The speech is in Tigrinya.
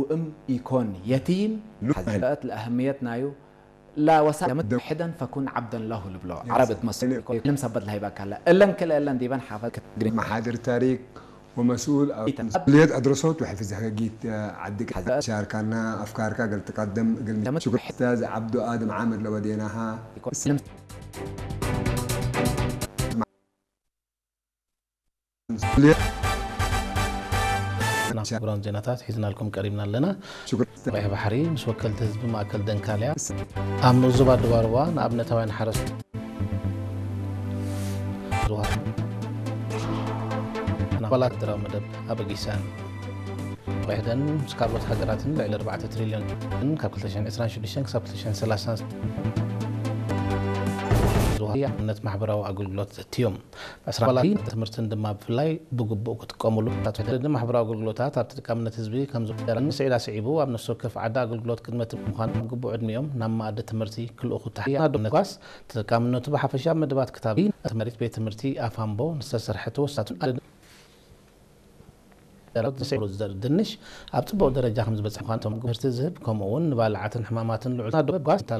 ውእም ኢኮን የቲም ሉት ሐዘት ለአህምየት ናዩ ላወሳ ለምትሕደን ፈኩን ዓብደን ለሁ ልብሎ ዓረብ ትመስል ኢኮን ልም ሰበት ለሃይባካለ እለን ክልኤለን ዲበን ሓፈት ክትግሪ መሓድር ታሪክ ومسؤول مسؤولية أدرسوت وحفظ حقيقة عدك شاركنا أفكارك قلت تقدم قلت شكرا أستاذ عبدو آدم عامر لوديناها ክቡራን ዜናታት ሒዝናልኩም ቀሪብና ኣለና። ቀይሕ ባሕሪ ምስ ወከልቲ ህዝቢ ማእከል ደንካልያ ኣብ ንኡስ ዞባ ደቡብ ኣርባ ንኣብነታውያን ሓረስቶት ዝወሃብ ኣባላት ሃገራዊ መደብ ኣበጊሰን ወሕደን ምስ ካልኦት ሃገራትን ልዕሊ ኣርባዕተ ትሪልዮን ካብ ክልተ ሽሕን ዕስራን ሽዱሽተን ክሳብ ክልተ ሽሕን ሰላሳን ዝወሃብ ኣብነት ማሕበራዊ ኣገልግሎት ዘትዮም። ዕስራ ኣባላት ትምህርትን ድማ ብፍላይ ብግቡእ ክጥቀሙሉ። ማሕበራዊ ኣገልግሎታት ኣብ ተጠቃምነት ህዝቢ ከም ዝወደረን ስዒዳ ስዒቡ ኣብ ነፍሲ ወከፍ ዓዲ ኣገልግሎት ቅድመ ትምህርቲ ምዃን ኣብ ግቡእ ዕድሚኦም ናብ መኣዲ ትምህርቲ ክልእኹ ተሓያ ዶ ነኳስ ተጠቃምነቱ ብሓፈሻ ኣብ መደባት ክታብ እቲ መሪት ቤት ትምህርቲ ኣፋምቦ ንዝተሰርሐ ተወሳቱ ደረጃ ዝስዕሩ ዝዘር ድንሽ ኣብ ጽቡቕ ደረጃ ከም ዝበጽሐ ምዃኑ እቶም ትምህርቲ ዝህብ ከምኡ እውን ንባልዓትን ሕማማትን ልዑል ጓስ